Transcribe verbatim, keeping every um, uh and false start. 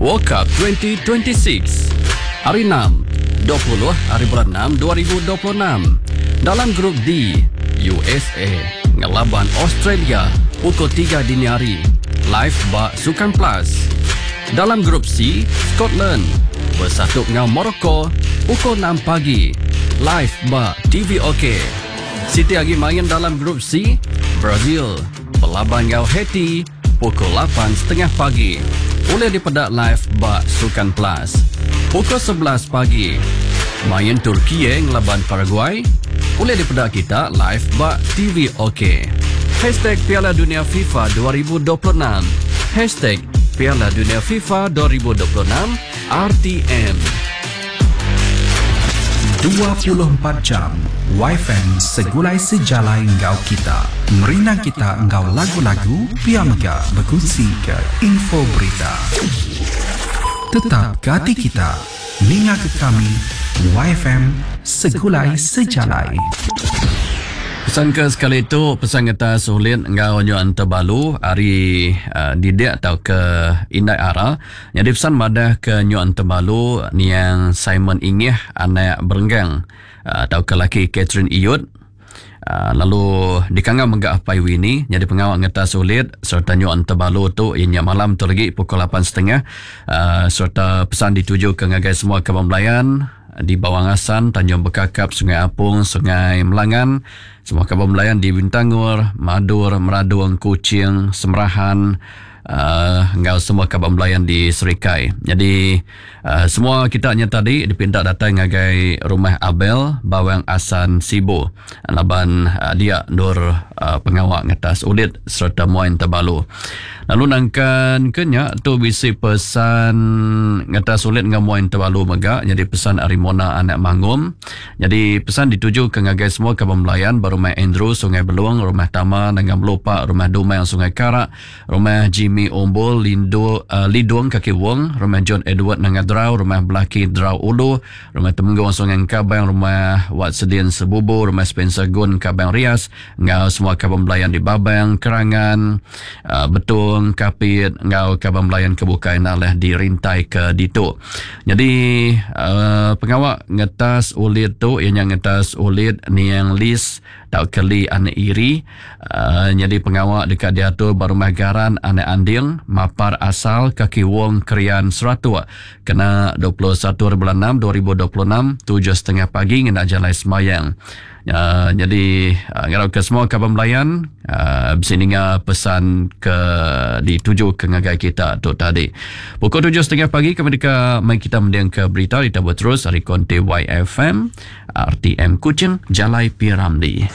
World Cup dua ribu dua puluh enam hari enam, dua puluh hari bulan enam dua ribu dua puluh enam. Dalam grup D, U S A ngelaban Australia pukul tiga dini hari live ba Sukan Plus. Dalam grup C, Scotland bersatu dengan Morocco pukul enam pagi live ba T V O K. Siti lagi main dalam grup C, Brazil berlaban dengan Haiti pukul lapan tiga puluh pagi. Boleh dipedak live ba Sukan Plus. Pukul sebelas pagi, main Turki ngelaban Paraguay. Boleh dipedak kita live ba T V O K. Hashtag Piala Dunia FIFA dua ribu dua puluh enam. Hashtag Piala Dunia FIFA dua ribu dua puluh enam R T M. dua puluh empat jam Y F M segulai sejalai ngau kita. Merindang kita ngau lagu-lagu pia mega berkongsi ke info berita. Tetap gati kita. Ninga ke kami Y F M segulai sejalai. Pesan ke sekali itu pesan kata sulit ngau nyuan terbalu hari uh, didik atau ke Indai Ara. Jadi pesan madah ke nyuan terbalu niang Simon Ingih anak Berenggang uh, atau ke laki Catherine Iyut. Uh, lalu dikangau menggak Apai Winnie jadi pengawal ngeta sulit serta nyuan terbalu tu inya malam tu lagi pukul lapan setengah uh, serta pesan dituju ke ngagai semua kawan belayan di Bawang Asan, Tanjung Bekakap, Sungai Apung, Sungai Melangan, semua kawan belayan di Bintangur, Madur, Meradung, Kuching, Semerahan, uh, ngau semua kawan belayan di Serikai. Jadi uh, semua kita nya tadi dipinta datang ngagai rumah Abel Bawang Asan Sibu. Laban uh, dia nur uh, pengawak ngatas ulit serta muain terbalu. Lalu nangkan kenya tu bisi pesan ngatas ulit ngau muain terbalu mega jadi pesan Arimona anak Mangum. Jadi pesan dituju ke ngagai semua kawan belayan berumah Andrew Sungai Beluang, rumah Tama Nangam Lupa, rumah Dumai Sungai Karak, rumah Jimmy Ombol, Lindo, uh, Lidung Kaki Wong, rumah John Edward Nangadrau, rumah Belaki Drau Ulu, rumah Temenggung Sungai Kabang, rumah Wat Sedin Sebubu, rumah Spencer Gun Kabang Rias, ngau semua kawan belayan di Babang, Kerangan, uh, Betung, Kapit, ngau kawan belayan kebukai naleh dirintai ke Ditu. Jadi uh, pengawak ngetas ulit tu ianya ngetas ulit niang lis tau keli anak iri uh, jadi pengawak dekat diatur barumah garan anak anding mapar asal Kaki Wong Krian Seratuk kena dua puluh satu bulan enam dua ribu dua puluh enam tujuh setengah pagi ngena jalai semayang. Uh, jadi uh, ngarap ke semua kawan belayan uh, bersininga pesan ke dituju ke ngagai kita tu tadi. Pukul tujuh setengah pagi kami dekat mai kita mendiang ke berita kita berterus hari konti Y F M R T M Kuching Jalai Piramli.